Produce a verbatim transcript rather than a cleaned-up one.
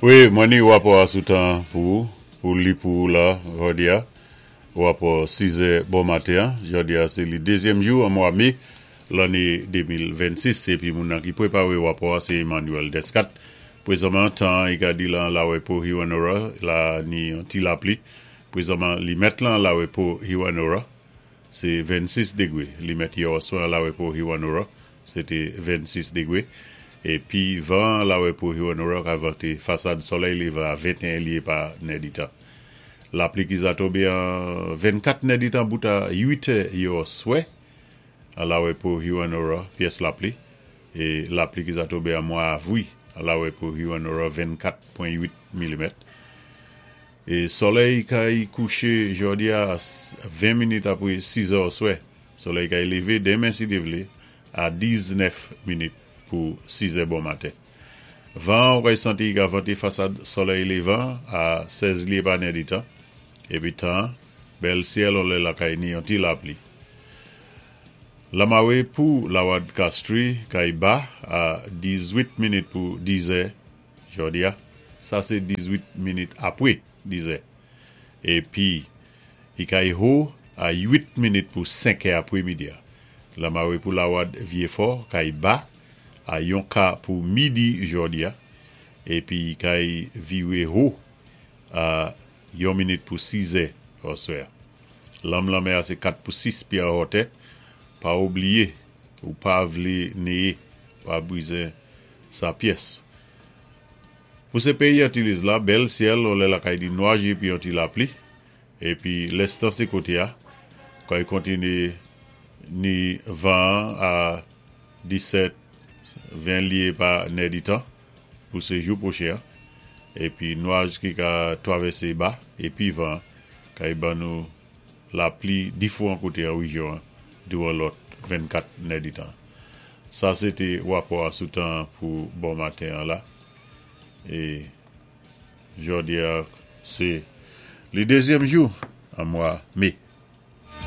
Wi, mwen ni wapò a sou tan pou ou, pou li pou ou la, jòdi a. Wapò sizè bon maten, jòdi a sé li dézyèm jou an mwa mé, lanné de mil vennsis, épi moun nan ki pwépawé wapò a sé Emmanuel Descat. Pwézanman, tan i ka di lan Lawepo Hewanorra, la ni yon ti lapli. Pwézanman, limèt lan Lawepo Hewanorra, sé vennsis dégwé. Limèt yè oswè Lawepo Hewanorra, sé té vennsis dégwé. Épi van Lawepo Hewanorra ka vanté fasad solèy lévan a venteyen lyé pa nèditan. Lapli ki za tonbé an vennkat nèditan bout a uit è yè oswè a Lawepo Hewanorra, pyès lapli. É lapli ki za tonbé an mwa avwi a Lawepo Hewanorra, vennkat pwen uit milimèt. É solèy kay kouché jòdi a ven minit apwé siz è oswè. Solèy kay lévé denmen si Dye vlé a diznèf minit pou siz è bon maten. Van ou kay santi ka vanté fasad solèy lévan a sèz lyé pa nèditan. Épi tan, bèl syèl, on lè la kay ni yon ti lapli. Lamawé pou Lawad Castries kay ba a dizuit minit pou diz è jòdi a. Sa sé dizuit minit apwé diz è. Épi i kay ho a uit minit pou senk è apwé midi a. Lamawé pou Lawad Vyéfò kay ba a yon ka pou midi jòdi a. Épi kay viwé ho a yon minit pou siz è oswè. Lanm lanmè a sé kat pou sis pyé an wotè. Pa oubliyé, ou pa vlé néyé, pa bizwen sa pyès. Pou sé péyi Antilles la, bèl syèl, on lè la kay di nwaj épi yon ti lapli. Épi lès tan sé koté a, kay kontiné ni van a disèt, ven lyé pa nèditan pou sé jou pwochen. Épi nwaj ki ka twavèsé ba, épi van kay ban nou lapli difwan koté an wéjyon douwan lòt vennkat nèditan. Sa sé té wapò a sou tan pou bon maten an la. É jòdi a sé li dézyèm jou an mwa mé.